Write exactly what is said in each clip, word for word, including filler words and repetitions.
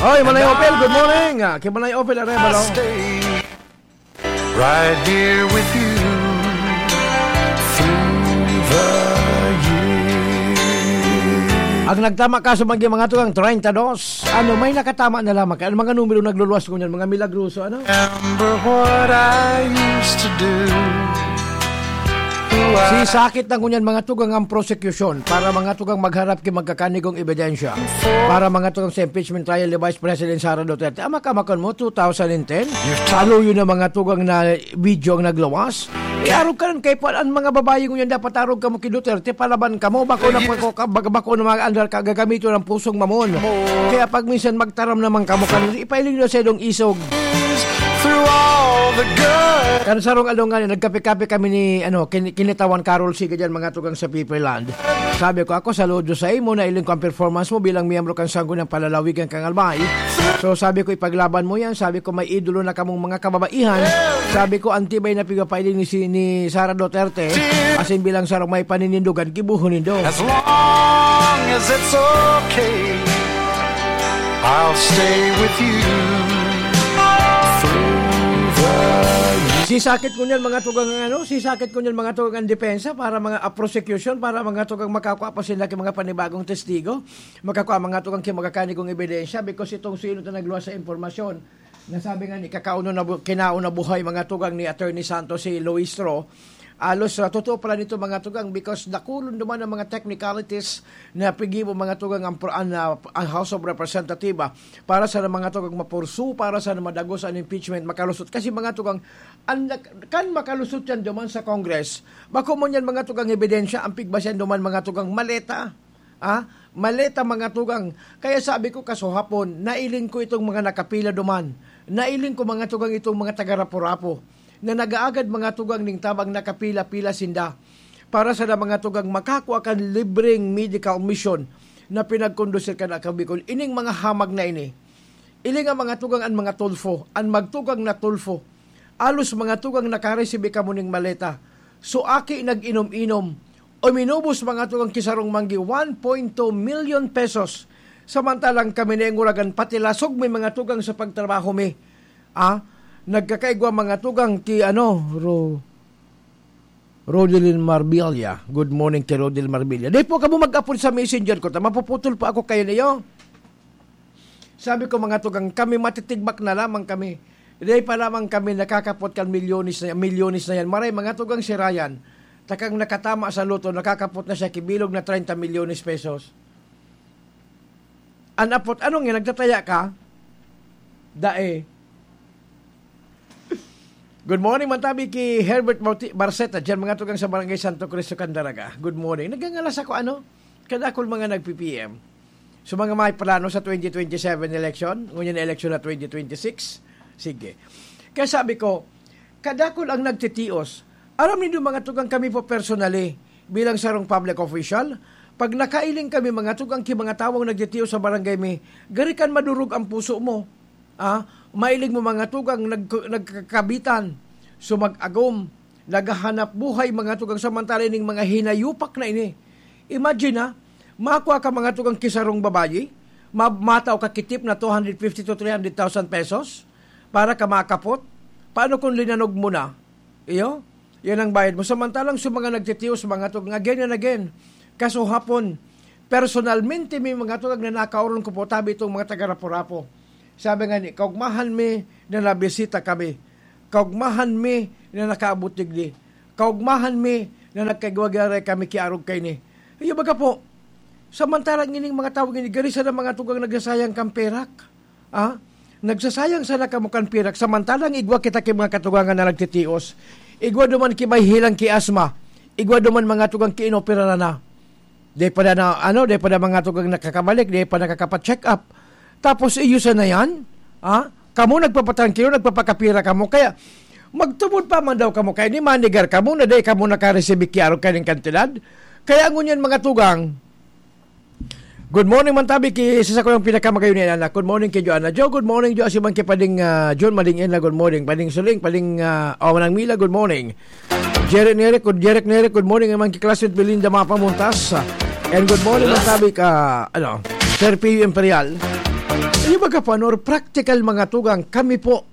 Oy, Manay Opel, good morning. Ah, kay Manay Opel, aray, balo. Stay right here with you through the years. Ang nagtama kaso, mga, mga tugang, treinta dos. Ano, may nakatama na lamang. Ano, mga numero nagluluwas ko niyan, mga milagroso, ano? Remember what I used to do. Who I Sisakit na ngunyan, mga tugang, ang prosekusyon para, mga tugang, magharap ki magkakanigong ebidensya. Para, mga tugang, sa impeachment trial ni Vice President Sara Duterte. Ama ka, makon mo, two thousand ten? You've talked Aluyo na, mga tugang, na video ang naglawas. Iarog ka rin kay Paul, ang mga babae ngunyan dapat arog kamo ki Duterte, palaban kamo, bako na, bako, bako na mga andar ka, gagamiton ang pusong mamon. Kaya pag minsan magtaram naman kamo, kan ipailing na sa idong isog. Through all the good. Kan sarong aldaw nga, nagkape-kape kami ni, ano, kin-, kinitawan Carol Siga dyan, mga tugang sa People Land. Sabi ko, "Ako, saludo sa imo, nailing ko ang performance mo bilang miyembro kan Sangguniang Palalawigan kan Albay." So, sabi ko, "Ipaglaban mo yan." Sabi ko, "May idolo na kamong mga kababaihan." Sabi ko, "Ang tibay na pigpapailing ni, si, ni Sara Duterte, asin bilang sarong may paninindogan, gibuhon nindo." As long as it's okay, I'll stay with you through the years. Sisakit ko niyan, mga tugang, ano, sisakit ko niyan, mga tugang, ang depensa para mga, ah, prosecution, para, mga tugang, makakua pa sila ki mga panibagong testigo, makakua, mga tugang, ki magkakanigong ebidensya, because itong suinot na nagluwas sa impormasyon, nasabi nga ni kakauna na bu-, kinauna buhay, mga tugang, ni Attorney Santos, si Luis Ro. Alos, ah, totoo pala nito, mga tugang, because dakulon duman ang mga technicalities na piggibo, mga tugang, ang pro-, an, ah, ang House of Representative, ah, para sa mga tugang mapursu, para sa madagos an impeachment, makalusot. Kasi, mga tugang, an, kan makalusot yan duman sa Congress, bako man yan, mga tugang, ebidensya, ang pigbasihan duman, mga tugang, maleta. Ah, maleta, mga tugang. Kaya sabi ko, kasuhapon, nailing ko itong mga nakapila duman. Nailing ko, mga tugang, itong mga taga-Rapu-Rapu na nag-aagad, mga tugang, ning tabang nakapila-pila sinda para sa mga tugang makakua kan libreng medical mission na pinagkondusir kan Akabikol. Ining mga hamag na ini, iling ang mga tugang an mga Tulfo, an magtugang na Tulfo. Alos mga tugang nakaresibi kamo ning maleta. So, aki nag-inom-inom. Uminubos mga tugang ki sarong manggi, one point two million pesos. Samantalang kami nainguragan, pati lasog mi mga tugang sa pagtrabaho mi. Ah, nagkakaigwa mga tugang ki ano, Ro-, Rodelin Marbilla. Good morning ki Rodelin Marbilla. Di po kamo mag-apod sa messenger ko, ta mapuputol pa ako kayo niyo. Sabi ko, "Mga tugang, kami matitigbak na lamang kami. Dai pa lamang kami nakakapot kan milyones na, milyones na yan." Maray, mga tugang, si Ryan, takang nakatama sa loto, nakakapot na siya kibilog na treinta milyones pesos. An apot, ano nga, nagtataya ka? Dae. Good morning, mantabi ki Herbert Marti-, Barceta, dyan mga tugang sa Barangay Santo Cristo, Candaraga. Good morning. Nagangalas ako, ano? Kadakol mga nag-P P M. So, mga may plano sa twenty twenty-seven election, ngunyan na election na twenty twenty-six. Sige. Kaya sabi ko, kadakol ang nagtitios. Aram nindo, mga tugang, kami po personally, bilang sarong public official, pag nakailing kami, mga tugang, ki mga tawong nagtitios sa barangay mi, gari kan madurog ang puso mo. Ah, mailing mo, mga tugang, nag-, nagkakabitan, sumag-agom, naghahanap buhay, mga tugang, samantala ning mga hinayupak na ini. Imagine, ha, makua ka, mga tugang, ki sarong babayi, ma-, matao ka ki tip na two hundred fifty to three hundred thousand pesos para ka makapot. Paano kung linanog mo na? Iyo? Yan ang bayad mo. Samantalang sa mga nagtitios, mga tugang, again and again, kasuhapon, personalmente, may mga tugang na nakaoron ko po, tabi itong mga taga-Rapu-Rapu. Sabi nga ni, "Kaugmahan mi na nabisita kami. Kaugmahan mi na nakaabot digdi. Kaugmahan mi na nagkagwagaray kami kiarog kaini." Iyo baga po, samantalang ining mga tawo gini, gari sana mga tugang nagsasayang kan perak. Ah? Nagsasayang sana kamo kan perak, samantalang igwa kita ki mga katugangan na nagtitios. Igwa duman ki may hilang ki asma. Igwa duman mga tugang ki inoperaran na. Di pa na, ano, di pa na mga tugang nakakabalik, di pa nakakapa-check up. Tapos iyo sana yan? Ah? Kamo nagpapatrangkilo, nagpapakapira kamo. Kaya magtubod pa man daw kamo. Kaya ni manigar kamo na di kamo nakareceive ki arog kaning kantidad. Kaya ngunyan mga tugang, good morning, mantabi ki sa sakuyang pinakamagayon ni anak. Good morning ki Joanna. Jo, good morning, Jo. Asiman ki Pading, ah, John, Mading Enla, good morning. Pading Suling, Pading, ah, Awan ng Mila, good morning. Jerry Neric, good, Jerry Neric, good morning. Naman ki classmate Belinda Mapamuntas. And good morning, mantabi ka, ano, Sir P U Imperial. Iyo baga, Panor, practical, mga tugang, kami po,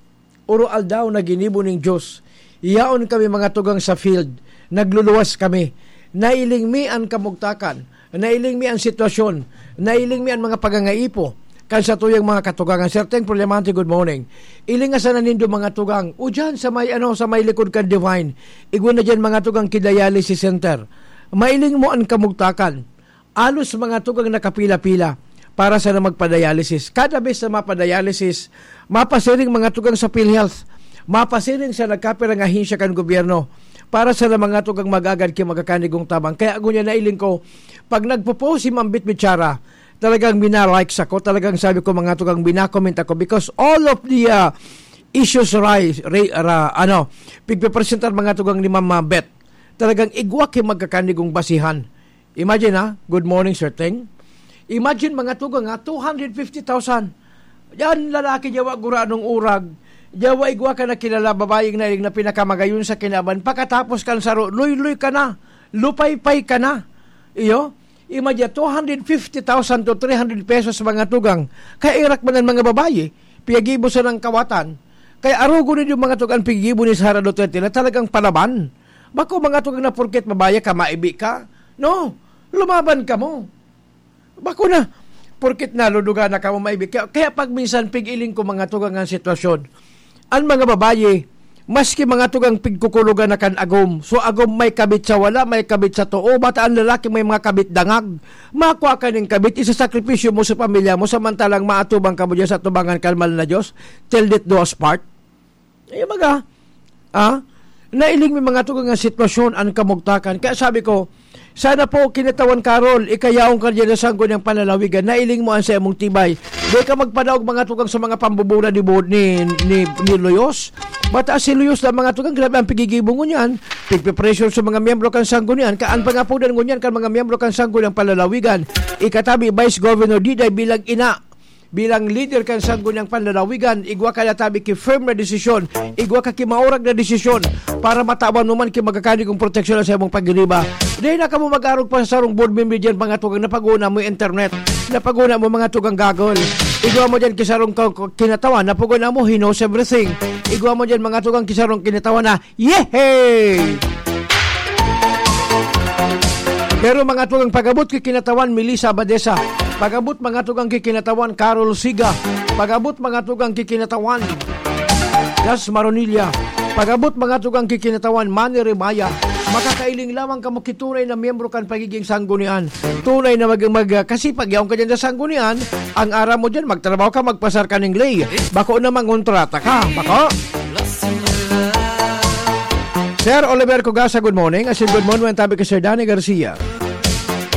oro aldaw na ginibo ning Diyos. Yaon kami, mga tugang, sa field. Nagluluwas kami. Nailing mi an kamugtakan. Nailing mi an sitwasyon. Nailing mi an mga pagangaipo kan satuyang mga katugangan. Sir Teng Problemante, good morning. Ilinga sana nindo, mga tugang. O dyan, sa may, ano, sa may likod kan Divine. Igwa na dyan, mga tugang, ki dialysis center. Mailing mo an kamugtakan. Alos, mga tugang, nakapila-pila para sana magpa-dialysis. Kada bes na mapa-dialysis, mapasiring, mga tugang, sa PhilHealth, mapasiring sa nagkapirang ahensya kan gobyerno para sana, mga tugang, magagad ki magakanigong tabang. Kaya ako niya nailing ko, pag nagpo-post si Ma'am Bit Bichara, talagang mina-likes ako, talagang sabi ko, mga tugang, mina-comment ako because all of the, ah, issues rise, ra-, ra-, ano, pigpipresentar, mga tugang, ni Ma'am, ah, Bet. Talagang igwa ki magkakanigong basihan. Imagine, ha? Good morning, Sir Teng. Imagine, mga tugang, ha? Two hundred fifty thousand. Yan, lalaki, yawa guranong urag. Yawa, igwa ka na kilala, babayeng nailing na pinakamagayon sa kinaban. Pakatapos kan saro, luyloy ka na. Lupaypay ka na. Iyo? Imagine, two hundred fifty thousand to three hundred pesos, mga tugang. Kaya irak man ang mga babayi, piyagibo sa nang kawatan. Kaya arugo ninyo, mga tugang, pigibo ni Sara Duterte na talagang palaban. Bako, mga tugang, na porket mabaya ka, maibi ka. No, lumaban ka mo. Bako na, porket naludugan na ka mo, maibi ka. Kaya pag minsan, pig-iling ko, mga tugang, ang sitwasyon. Ang mga babayi, maski, mga tugang, pigkukulogan na kan agom. So, agom may kabit sa wala, may kabit sa too. Bata ang lalaki, may mga kabit dangag. Makua ka ning kabit, isasakripisyo mo sa pamilya mo, samantalang maatubang ka mo diyan sa atubangan kan mahal na Diyos. Till death do us part. Eh, baga, ah, nailing mi, mga tugang, nga sitwasyon, an kamugtakan. Kaya sabi ko, sana po, Kinatawan Carol, ikayaon ka diyan sa Sangguniang Panlalawigan, nailing mo an saimong tibay. Di ka magpadaog, mga tugang, sa mga pambubola ni Bo-, ni, ni, ni Luyos. Bata si Luyos na, mga tugang, grabe ang pigigibo ngunyan. Pigpipressure sa mga miyembro kan Sanggunian. Ka-, an pangapodan ngunyan kan mga miyembro kan Sangguniang Panlalawigan, ikatabi Vice Governor Diday bilang ina, bilang lider kan Sangguniang Panlalawigan, igwa ka natabi ki firm na desisyon, igwa ka ki maurag na desisyon para matawan mo man ki magkakanigong proteksyon sa imong pagiriba. Dai na kamo mag-arog pa sa sarong board member diyan, mga tugang, na pag-una mo internet, na pag-una mo, mga tugang, gagol. Igwa mo diyan ki sarong ka-, ka-, Kinatawan na pag-una mo, he knows everything. Igwa mo diyan, mga tugang, ki sarong Kinatawan na Yehey! Pero, mga tugang, pag-abot ki Kinatawan Melissa Abadesa, pag-abot, mga tugang, ki Kinatawan Carol Siga, pag-abot, mga tugang, ki Kinatawan Das Maronilla, pag-abot, mga tugang, ki Kinatawan Manny Rimaya, makakailing lamang kamo ki tunay na miyembro kan pagiging Sanggunian. Tunay na mag-, mag-, kasi pag yaon ka dyan sa Sanggunian, ang aram mo dyan, magtrabaho ka, magpasar ka ning ley. Bako na mangontrata ka. Bako? Sir Oliver Cugasa, good morning. Asin good morning, tabi kay Sir Danny Garcia.